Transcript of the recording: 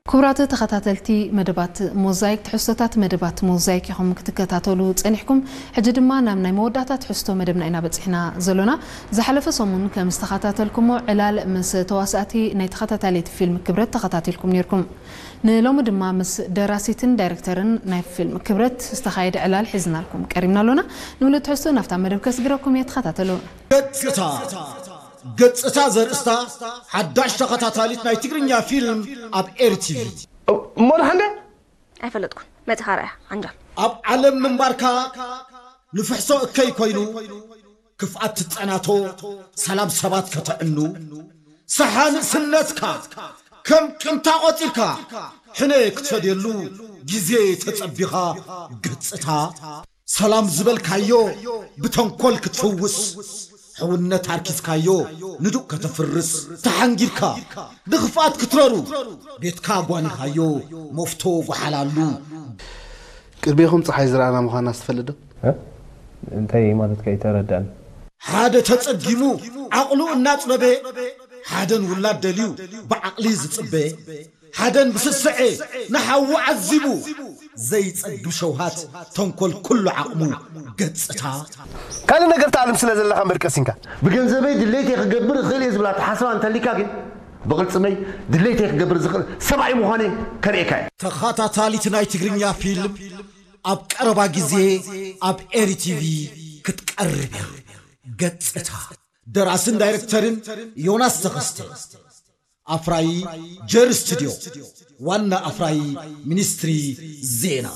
ክቡራት ተኸታተልቲ መደባት ሞዛይክ፣ ትሕዝቶታት መደባት ሞዛይክ ኢኹም ክትከታተሉ ጸኒሕኩም። ሕጂ ድማ ናብ ናይ መወዳእታ ትሕዝቶ መደብና ኢና በጺሕና ዘሎና። ዝሓለፈ ሰሙን ከም ዝተኸታተልኩሞ፣ ዕላል ምስ ተዋሳእቲ ናይ ተኸታታሊት ፊልም ክብረት ተኸታቲልኩም ነይርኩም። ንሎሚ ድማ ምስ ደራሲትን ዳይሬክተርን ናይ ፊልም ክብረት ዝተኻየደ ዕላል ሒዝናልኩም ቀሪብና ኣሎና። ንምሉእ ትሕዝቶ ናብታ መደብ ከስግረኩም እየ፣ ተኸታተሉ። ገጽታ። ገጽታ ዘርእስታ ሓዳሽ ተኸታታሊት ናይ ትግርኛ ፊልም ኣብ ኤሪ ቲቪ። እሞ ንሓንደ? ኣይፈለጥኩን። መጺኻ ርኣያ ዓንጃል። ኣብ ዓለም ምንባርካ ንፍሕሶ እከይ ኮይኑ፣ ክፍኣት ትጸናቶ፣ ሰላም ሰባት ከተዕኑ፣ ሰሓ ንእስነትካ ከም ቂምታ ቆጺርካ፣ ሕነ ክትፈድየሉ ግዜ ተጸቢኻ። ገጽታ ሰላም ዝበልካዮ ብተንኮል ክትፍውስ፣ ሕውነት ኣርኪስካዮ ንዱቕ ከተፍርስ፣ ተሓንጊርካ ንኽፍኣት ክትረሩ፣ ቤትካ ጓኒኻዮ መፍቶ ጓሓላሉ። ቅድሜኹም ፀሓይ ዝረኣና ምዃና ትፈልጥ ዶ? እንታይ ማለትካ? ኣይተረዳእን። ሓደ ተጸጊሙ ዓቕሉ እናጽበበ፣ ሓደን ውላድ ደልዩ ብዓቕሊ ዝጽበ፣ ሓደን ብስስዐ ንሓዉ ዓዚቡ ዘይጸግብ ሸውሃት፣ ተንኮል ኩሉ ዓቕሙ። ገጽታ ካልእ ነገር ትኣልም ስለ ዘለኻ እምበር ቀሲንካ። ብገንዘበይ ድሌተይ ክገብር እኽእል እየ ዝብል ኣተሓሳስባ እንተሊካ ግን፣ ብቕልጽመይ ድሌተይ ክገብር ዝኽእል ሰብኣይ ምዃነይ ከርእየካ እየ። ተኸታታሊት ናይ ትግርኛ ፊልም ኣብ ቀረባ ግዜ ኣብ ኤሪ ቲቪ ክትቀርብ እያ። ገጽታ ደራስን ዳይሬክተርን ዮናስ ተኸስተ፣ ኣፍራዪ ጀር ስቱድዮ፣ ዋና ኣፍራዪ ሚኒስትሪ ዜና።